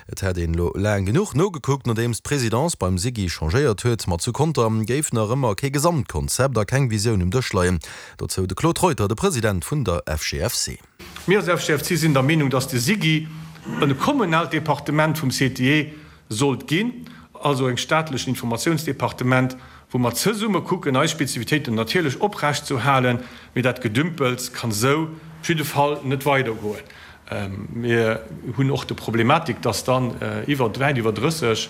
Et hätt een elo laang genuch nogekuckt, nodeems d'Presidence beim SIGI changéiert huet. Ma zu Conter géif nach ëmmer kee Gesamtkonzept a keng Visioun um Dësch leien. Dozou de Claude Reuter, de President vun der FGFC. Mir als FGFC sinn der Meenung, dass de SIGI e kommunaalt Departement vum CTE sollt ginn, also eng staatlechen Informatiounsdepartement, wou mer zesumme kucken, eis Spezifitéiten natierlech oprecht ze halen, mee dat Gedümpels kann esou op jidde Fall net weidergoen. Mir hunn och de Problematik, dass dann iwwer, wäit iwwer 30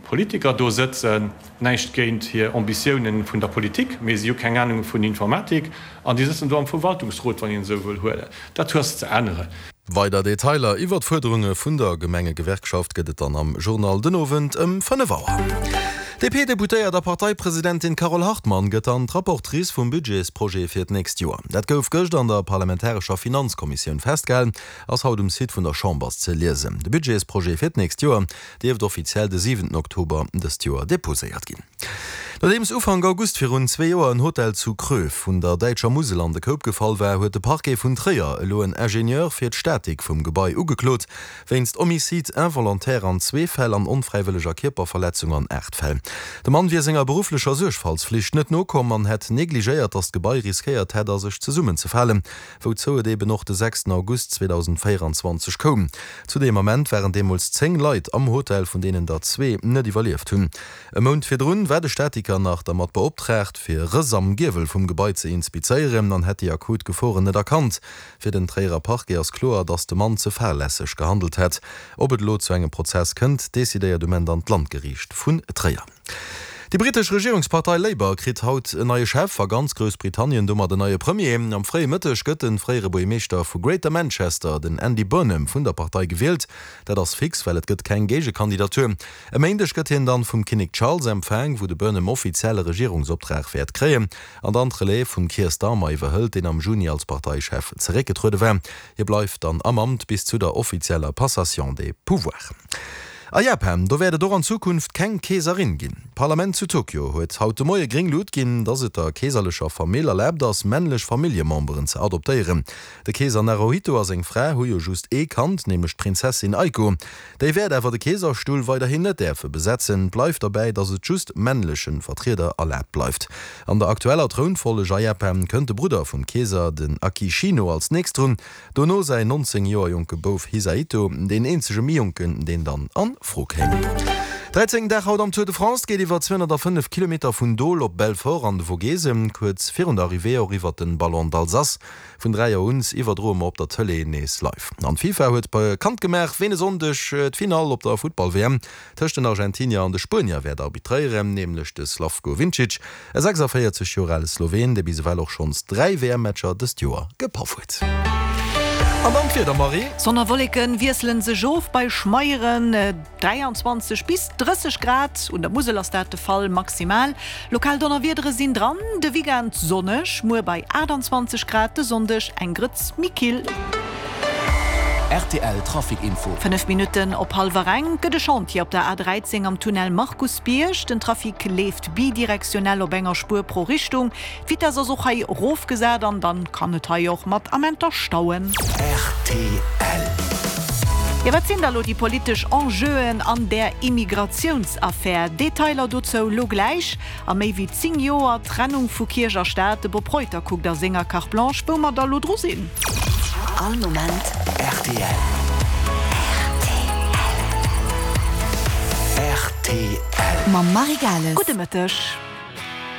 Politiker do sëtzen. Näischt géint hir Ambitiounen vun der Politik, mee si hu keng Anung vun Informatik an déi sëtzen do am Verwaltungsrot, wann een esou wëll huelen. Dat hues ze änneren. Weider Detailer iwwer d'Fuerderunge vun der Gemengegewerkschaft gëtt et dann am Journal den Owend ëm 5 Auer. D'DP-Deputéiert a Parteipresidentin Carole Hartmann gëtt dann d'Rapportrice vum Budgetsprojet fir d'nächst Joer. Dat gouf gëscht an der parlamentarescher Finanzkommissioun festgehalen, ass haut um Site vun der Chamber ze liesen. De Budgetsprojet fir d'nächst Joer dierft offiziell de siwenten Oktober dëst Joer deposéiert ginn. Nodeems Ufank August virun zwee Joer en Hotel zu Kröv vun der däitscher Musel an de Koup gefall war, huet de Parquet vun Tréier elo en Ingenieur fir d'Statik vum Gebai ugeklot. Wéinst Homicide involontaire an zwee Fäll an onfräiwëlleger Kierperverletzung an 8 Fäll. De Mann wier senger berufflecher Suergfaltsflicht net nokomm an hätt negligéiert, datt d'Gebai riskéiert hätt a sech zesummenzefalen, wouzou et eben och de 6 August 2024 koum. Zu deem Ament waren deemools 10 Leit am Hotel, vun deenen der zwee net iwwerlieft hunn. E Mount virdrun war de Statiker nach dermat beoptraagt, fir Rëss am Giewel vum Gebai ze inspizéieren an hätt déi akut Geforen net erkannt. Fir den Tréierer Parquet ass kloer, datt de Mann ze fahrlässeg gehandelt hätt. Ob et elo zu engem Prozess kënnt, decidéiert um Enn dann d'Landgeriicht vun Tréier. Déi brittesch Regierungspartei Labour kritt haut en neie Chef a ganz Groussbritannien domat en neie Premier. Am fréie Mëtteg gëtt de fréiere Buergermeeschter vu Greater Manchester, den Andy Burnham, vun der Partei gewielt. Dat ass fix, well et gëtt keng Géigekandidatur. E Méindeg gëtt hien dann vum Kinnek Charles empfaang, wou de Burnham offiziell e Regierungsoptrag wäert kréien. An dann d'Relève vum Keir Starmer iwwerhëlt, deen am Juni als Parteichef zeréckgetruede war. Hie bleift dann am Amt bis zu der offizieller Passation des pouvoirs. A Japan, do wäert et och an Zukunft keng Keeserin ginn. D'Parlament zu Tokio huet haut de Moie gréng Lut ginn, dass et der keeserlecher Famill erlaabt ass, männlech Familljememberen ze adoptéieren. De Keeser Naruhito a seng Fra hu jo just ee Kand, nämlech d'Prinzessin Aiko. Déi wäert awer de Keeserstull weiderhin net däerfe besetzen. Et bleift derbäi, datt et just männleche Vertrieder erlaabt bleift. An der aktueller Trounfolleg a Japan kënnt de Brudder vum Keeser, den Akishino, als nächst drun, dono säin 19 Joer jonke Bouf Hisahito, deen eenzege méi jonken, deen dann a Fro kéim. 13. Dag haut am Tour de France, geet iwwer 205 Kilometer vun Dole op Belfort an de Vogesen, kuerz virun der Arrivée och iwwer den Ballon d'Alsace. Vun 3 Auer un iwwerdroe mer op der Tëlee nees live. An d'FIFA huet bekannt gemaach, ween e Sonndeg d'Finall op der Futtball-WM tëscht den Argentinier an de Spuenier wäert arbitréieren, nämlech de Slavko Vincic, e 46 Joer ale Sloween, dee bis ewell och schonns 3 WM-Matcher dëst Joer gepaff huet. An dann d'Wieder, Marie. Sonn a Wolleken wiesselen sech of bei schmeieren 23 bis 30 Grad, un der Musel ass dat de Fall maximal. Lokal Donnerwiedere sinn dran, de Weekend sonneg, muer bei 28 Grad, de Sonndeg eng Grëtz méi kill. Rtl Trafic Info. 5 Minutten op hallwer eng gëtt e Chantier op der A13 am Tunnel Markusbierg. Den Trafic leeft bidirektionell op enger Spuer pro Richtung. D'Vitess ass och hei erofgesat an dann kann et hei och mat Amenter stauen. Rtl. Jo, wat sinn da lo déi politesch Enjeuen an där Immigratiounsaffär? Detailer dozou lo gläich. A méi wéi 10 Joer Trennung vu Kierch a Staat, de Bob Reuter kuckt a senger Carte Blanche, wou mer da lo dru sinn. All Moment rtl. Rtl. Mam Marie Gales. Gudde Mëtteg.